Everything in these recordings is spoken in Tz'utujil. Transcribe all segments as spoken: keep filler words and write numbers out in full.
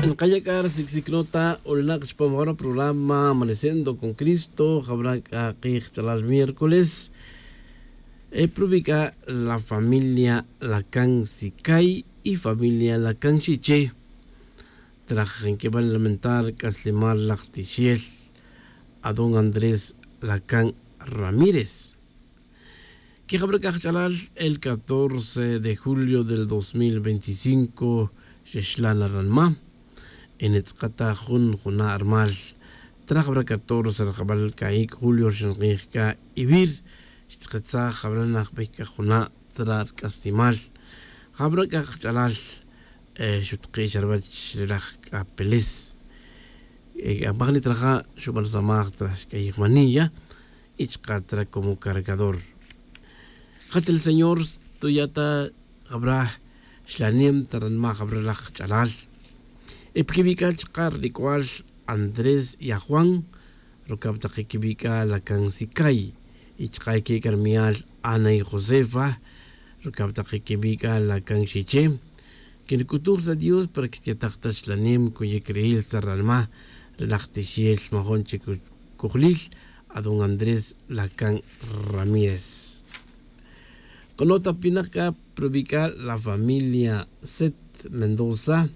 Nkaya' c'a ri sicsic nota, olnak' chupam jara programa Amaneciendo con Cristo. Jabra' c'a kij ch'alal miércoles, e probi c'a la familia Lacan Sicay y familia Lacan Xiche. Traj nqueban lamentar c'aslemal laj tixel a don Andrés Lacan Ramírez. Quejabra c'a kach'alal, el catorce de julio del dos mil veinticinco xexlan na ranma. Y nitz'aka ta jun juna' rimal. Trajabra catorce rajabal c'a ic' julio ri xinkij c'a ivir, xtz'akatsaj jabra najbey c'a juna' tzra' ri c'aslemal. Jabra c'a kach'alal, xutki' xa ruwech ri laj c'apeles. Apaj nitraja' xuban samaj tra xc'ayij maniya y chka' tra como cargador. Jachel señor, tuya' ta jabra xlanem ta ranma jabra laj kach'alal. Y pa quibi' c'a chka' ri nic'wal Andrés y a Juan, rucab tak quibi' c'a Lacan Sicay, y chka' ique c'a ri miyal Ana y Josefa, rucab tak quibi' c'a Lacan Xiche. Quenic'utuj ta Dios para que xtiyataj ta xlanem cuyic ri'il ta ranma ri laj tixel majun chic cojlil a don Andrés Lacan Ramírez. K'o nota pinak c'a probi c'a la familia Set Mendoza.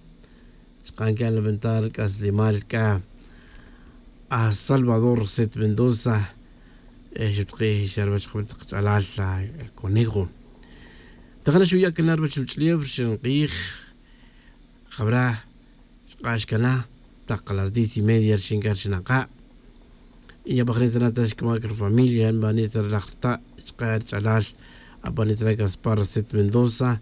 Chka' nque'an lamentar c'aslemal c'a a Salvador Set Mendoza, xutki' xa ruwech jabel tak ch'alal la Conejo. Tajana xuya' cana ruwech ruch'ulef ri xinkij. Jabra xk'ax cana tak las diez y media rixin c'a ri xinaka'. Y abajnit ra ta xcamac ri familia nbanit ra laj rta' chka' ri ch'alal. Abanit ra caspar Set Mendoza,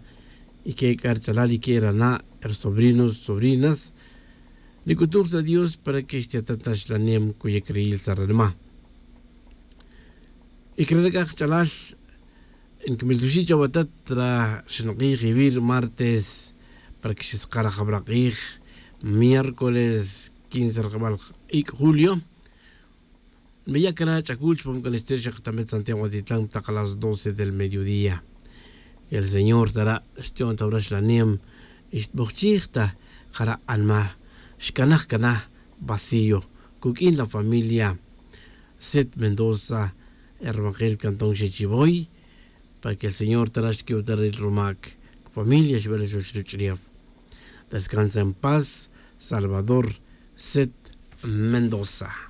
y que c'a ri ch'alal y que ri ana', ri sobrinos, sobrinas. Nic'utuj ta Dios para que xtiyataj ta xlanem cuyic ri'il ta ranma. Y crere c'a kach'alal, nquimiltuxi' chawatat ra xinkij iwir martes para que xiskaraj jabra k'ij, miércoles quince rajabal ic' julio. Nbeya' cana ch'acul chupam c'a nixter xakatamet santiago atitlan tak las doce del mediodía. Y el señor tara' xti'on ta wara xlanem y xtbujchij ta jara' anma. Xcanaj cana vacío cuq'uin la familia Set Mendoza, e rumakil cantón Xichiboy, para que el señor tara' xtiq'uiw ta ri rumac familia xbel chuwech ruch'ulef. Descansa en paz, Salvador Set Mendoza.